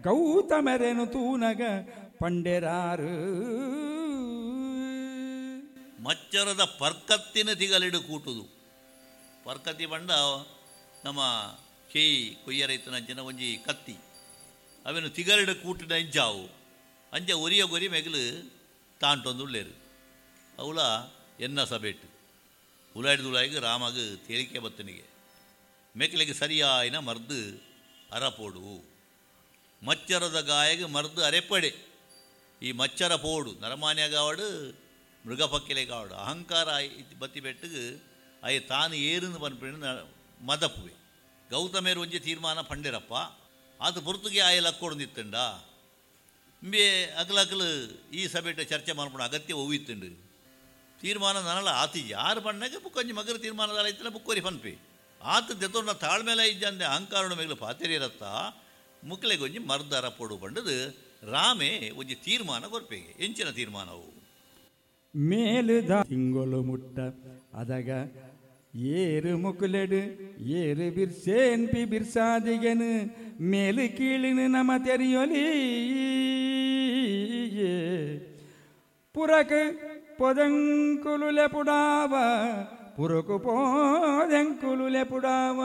ಗೌತಮರೆನು ತೂನಗ ಪಂಡೆರಾರು. ಮಚ್ಚರದ ಪರ್ಕತ್ತಿನ ತಿಗಲಿಡು ಕೂಟುದು. ಪರ್ಕತ್ತಿ ಪಂಡ ನಮ್ಮ ಕೆಯಿ ಕೊಯ್ಯರೈತನಂಚಿನ ಒಂಜಿ ಕತ್ತಿ, ಅವೆನು ತಿಗಲಿಡು ಕೂಟಿನ ಇಂಚಾವು ಅಂಚ ಒರಿಯ ಗೊರಿ ಮೆಗಲು ತಾಂಟೊಂದುಳ್ಳೇರು. ಅವಳ ಎನ್ನ ಸಭೆಟ್ಟು ಉಲಾಯ್ದು ರಾಮಗ ತೇಲಿಕೆ ಬತ್ತನಿಗೆ ಮೆಕ್ಲೆಗೆ ಸರಿಯಾಯಿನ ಮರ್ದು ಅರಪೋಡು, ಮಚ್ಚರದ ಗಾಯಗ ಮರ್ದು ಅರೆಪಡೆ. ಈ ಮಚ್ಚರ ಪೋಡು ನರಮಾನ್ಯಗಾವಡು ಮೃಗಪಕ್ಕಿಲೆ ಕಾವಡು ಅಹಂಕಾರ ಬತ್ತಿ ಬೆಟ್ಟಿಗೆ ಅಯ್ಯ ತಾನು ಏರುಂದು ಪನ್ಪಿನ ಮದಪುವೆ. ಗೌತಮೇರು ಒಂಜಿ ತೀರ್ಮಾನ ಪಂಡಿರಪ್ಪ, ಆತ ಪೊರ್ತುಗೆ ಆಯ ಲಕ್ಕೊಡ್ದಿತ್ತಂಡ ಇಂಬೆ ಅಗಲಕಲು ಈ ಸಭೆಟ ಚರ್ಚೆ ಮಾಡ್ಕೊಂಡು ಅಗತ್ಯ ಒವ್ವಿತ್ತುಂಡು. ತೀರ್ಮಾನ ನನಲ ಆತಿ ಯಾರು ಪಣ್ಣಗೆ ಬುಕ್ಕೊಂಜಿ ಮಗರ ತೀರ್ಮಾನದ ಇತ್ತಲ್ಲ ಬುಕ್ಕೋರಿ ಪನ್ಪೆ ಆತ ದೆತೊಂಡ ತಾಳ್ಮೇಲೆ ಇಜ್ಜಂದೆ ಅಹಂಕಾರಣ ಮೇಗಲು ಪಾತೆರಿರತ್ತ ಮುಕ್ಲೆಗೊಂಜಿ ಮರ್ದರ ಪೊಡು ಪಂಡದು ರಾಮೆ ಒಂಜಿ ತೀರ್ಮಾನ ಕೊರ್ಪೆಗೆ. ಎಂಚಿನ ತೀರ್ಮಾನವು? ಮೇಲುದ ತಿಂಗೊಲು ಮುಟ್ಟ ಅದಗ ಏರು ಮುಕುಲೆಡು ಏರು ಬಿರ್ಸೇನ್ ಪಿ ಬಿರ್ಸಾದಿಗೆನು ಮೇಲು ಕೀಳಿನ ನಮ ತೆರಿಯೊಲಿ ಪುರಕ ಪೊದಂಕುಲು ಲೆಪುಡಾವ ಪುರಕು ಪೋದೆಂಕುಲು ಲೆಪುಡಾವ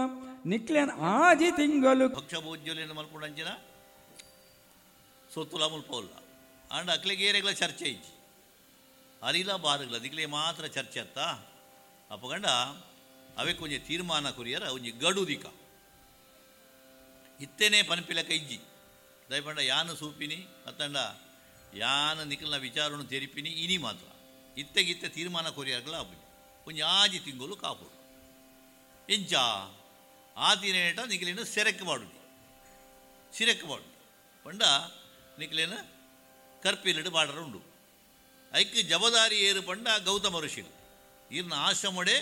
ನಿಕ್ಲೆನ್ ಆಜಿ ತಿಂಗಲು ಭಕ್ಷಭೋಜ್ಯಲೇನು ಮಲ್ಪುಂಡಂಚಿನ ಸೊತ್ತುಲ ಮುಲ್ಪೋಲ್ಲ ಆಂಡ ಅಕ್ಲೆಗೆ ಏರೆಗ್ಲ ಚರ್ಚೆ ಇಜ್ಜಿ ಅರಿಲ ಬಾರುಗಳ ದಿಕ್ಲೆ ಮಾತ್ರ ಚರ್ಚೆ ಅತ್ತ. ಅಪ್ಪಗಂಡ ಅವೆ ಕೊಂಚ ತೀರ್ಮಾನ ಕುರಿಯರ ಒಂಜಿ ಗಡು ದಿಕ್ಕ ಇತ್ತೇನೆ ಪನ್ಪಿಲಕ ಇಜ್ಜಿ ದಯಪಂಡ ಯಾನು ಸೂಪಿನಿ ಅತ್ತಂಡ ಯಾನು ನಿಖಲ್ನ ವಿಚಾರವನ್ನು ತೆರಿಪಿನಿ ಇನಿ ಮಾತ್ರ ಇತ್ತೆಗಿತ್ತೆ ತೀರ್ಮಾನ ಕೊರಿಯರ್ಗಳ ಅಪ್ಪಿ ಒಂಜಿ ಆಜಿ ತಿಂಗಳು ಕಾಪುಡು ಇಂಚ ಆ ತಿನೇಟ ನಿಖಲೇನು ಸೆರೆಕ್ ಮಾಡುನಿ ಸಿರೆಕ್ ಮಾಡುನಿ ಪಂಡ ನಿಖಲೇನು ಕರ್ಪಿಲಿಡು ಬಾಡರ ಉಂಡು. ಐಕ್ ಜಬದಾರಿ ಏರು ಪಂಡ ಗೌತಮ ಋಷಿಲು ಈರ್ನ ಆಶ್ರಮಡೆ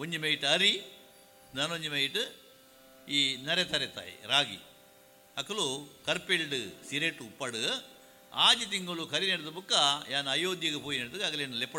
ಒಂಜಿ ಮೈಟ್ ಅರಿ ನಾನೊಂಜಿ ಮೈಟ್ ಈ ನರೆ ತರೆ ತಾಯಿ ರಾಗಿ ಅಕಲು ಕರ್ಪಿಲ್ಡ್ ಸಿರೆಟು ಉಪ್ಪಡು ಆಜಿ ತಿಂಗಳು ಕರಿ ನಡೆದ ಬುಕ್ಕ ಯಾನ್ ಅಯೋಧ್ಯೆಗೆ ಪೋಯಿ ನಡೆದು ಅಗಲೇನು ಲೆಪ್ಪಡ.